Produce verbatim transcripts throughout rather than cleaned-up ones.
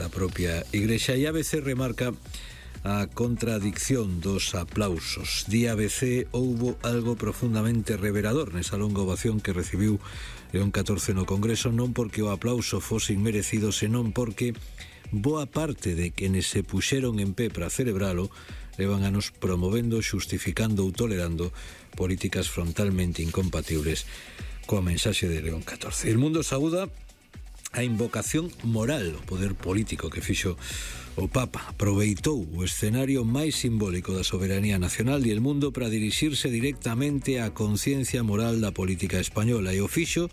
da propia Igrexa. E A B C remarca a contradicción dos aplausos. Di A B C houbo algo profundamente revelador nesa longa ovación que recibiu León catorce no Congreso, non porque o aplauso fose inmerecido, senón porque boa parte de quenes se puxeron en pé para celebralo levan anos promovendo, xustificando ou tolerando políticas frontalmente incompatibles coa mensaxe de León catorce. El mundo saúda a invocación moral o poder político que fixo o Papa. Aproveitou o escenario máis simbólico da soberanía nacional e el mundo para dirixirse directamente á conciencia moral da política española, e o fixo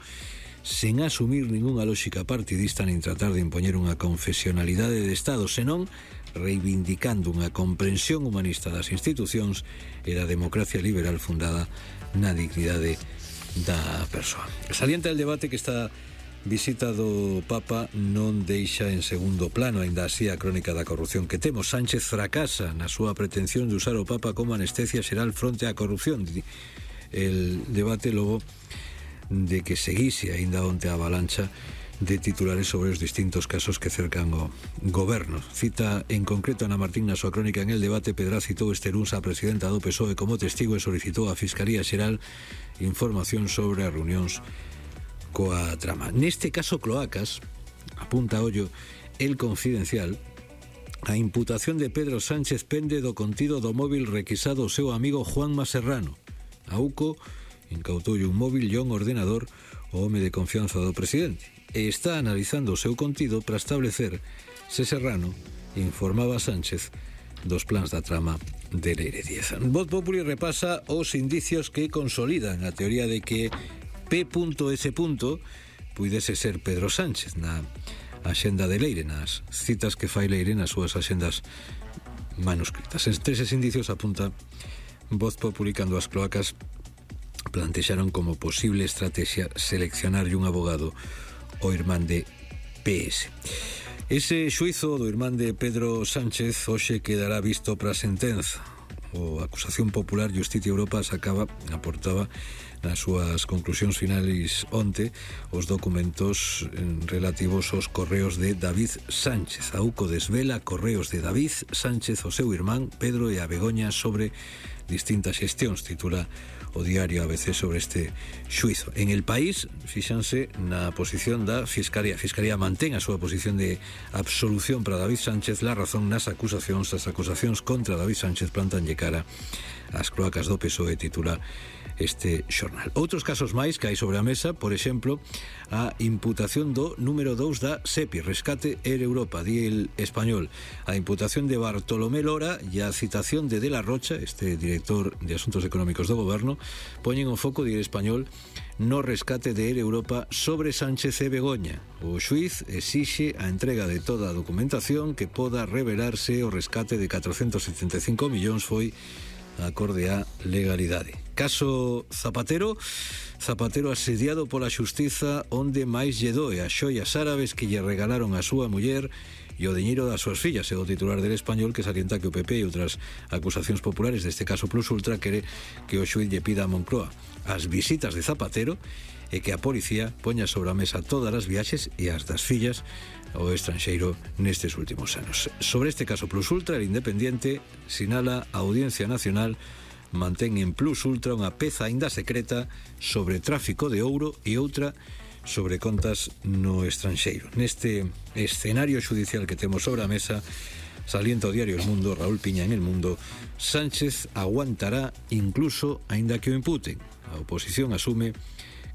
sen asumir ningunha lógica partidista nin tratar de impoñer unha confesionalidade de Estado, senón reivindicando unha comprensión humanista das institucións e da democracia liberal fundada na dignidade da persoa. Salienta el debate que está visita do Papa non deixa en segundo plano, aínda así, a crónica da corrupción que temos. Sánchez fracasa na súa pretensión de usar o Papa como anestesia xeral fronte á corrupción. El debate logo de que seguise aínda onte a avalancha de titulares sobre os distintos casos que cercan o goberno. Cita en concreto Ana Martín na súa crónica en El Debate. Pedra citou este luns a presidenta do P S O E como testigo e solicitou á Fiscalía Xeral información sobre as reunións coa trama. Neste caso Cloacas, apunta ollo El Confidencial, a imputación de Pedro Sánchez pende do contido do móvil requisado ao seu amigo Juanma Serrano. A U C O incautou un móvil e un ordenador ao home de confianza do presidente e está analizando o seu contido para establecer se Serrano informaba a Sánchez dos plans da trama de Leire Díez. Voz Populi repasa os indicios que consolidan a teoría de que P S. puidese ser Pedro Sánchez na axenda de Leire, nas citas que fai Leire nas súas axendas manuscritas. Entre eses indicios apunta Voz Populi cando as Cloacas plantexaron como posible estrategia seleccionarlle un abogado ao irmán de P S. Ese xuizo do irmán de Pedro Sánchez hoxe quedará visto para a sentenza. O Acusación Popular Justicia Europa sacaba, aportaba nas súas conclusións finais onte os documentos relativos aos correos de David Sánchez. A U C O desvela correos de David Sánchez ao seu irmán Pedro e a Begoña sobre distintas xestións, titula o diario A B C sobre este xuizo. En El País fíxanse na posición da Fiscalía. A Fiscalía mantén a súa posición de absolución para David Sánchez. La razón nas acusacións, as acusacións contra David Sánchez plantanlle cara ás Cloacas do P S O E, titula este xornal. Outros casos máis que hai sobre a mesa, por exemplo, a imputación do número dous da SEPI, Rescate Air Europa, di El Español. A imputación de Bartolomé Lora e a citación de De la Rocha, este director de Asuntos Económicos do Goberno, poñen o foco, di El Español, no rescate de Air Europa sobre Sánchez e Begoña. O xuiz exixe a entrega de toda a documentación que poda revelarse o rescate de catrocentos setenta e cinco millóns foi acorde á legalidade. Caso Zapatero, Zapatero asediado pola xustiza onde máis lle doe as xoias árabes que lle regalaron a súa muller e o diñeiro das súas fillas. É o titular del Español que salienta que o P P e outras acusacións populares deste caso Plus Ultra quere que o xuiz lle pida a Moncloa as visitas de Zapatero e que a policía poña sobre a mesa todas as viaxes e as das fillas ao estranxeiro nestes últimos anos. Sobre este caso Plus Ultra, el Independiente sinala a Audiencia Nacional mantén en Plus Ultra unha peza aínda secreta sobre tráfico de ouro e outra sobre contas no estranxeiro. Neste escenario judicial que temos sobre a mesa, salienta o diario El Mundo, Raúl Piña en El Mundo, Sánchez aguantará incluso aínda que o imputen. A oposición asume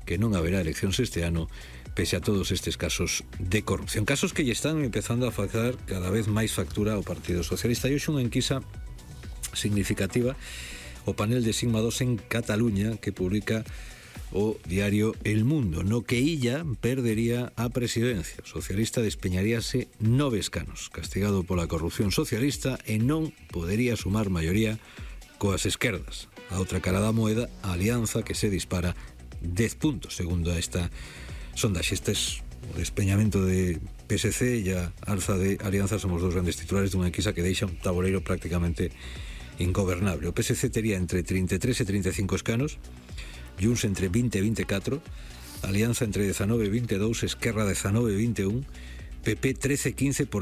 que non haberá eleccións este ano pese a todos estes casos de corrupción. Casos que lle están empezando a facer cada vez máis factura ao Partido Socialista. E hoxe unha enquisa significativa, o panel de Sigma dos en Cataluña, que publica o diario El Mundo, no que Illa perdería a presidencia. O socialista despeñaríase nove escanos, castigado pola corrupción socialista, e non podería sumar maioría coas esquerdas. A outra cara da moeda, a alianza, que se dispara dez puntos, segundo esta sondaxe. Estes, o despeñamento de P S C e a alza de Alianza son os dous grandes titulares dunha enquisa que deixa un tabuleiro prácticamente ingobernable. O P S C tería entre trinta e tres e trinta e cinco escanos, Junts entre vinte e vinte e catro, Alianza entre dezanove e vinte e dous, Esquerra dezanove e vinte e un, P P trece e quince por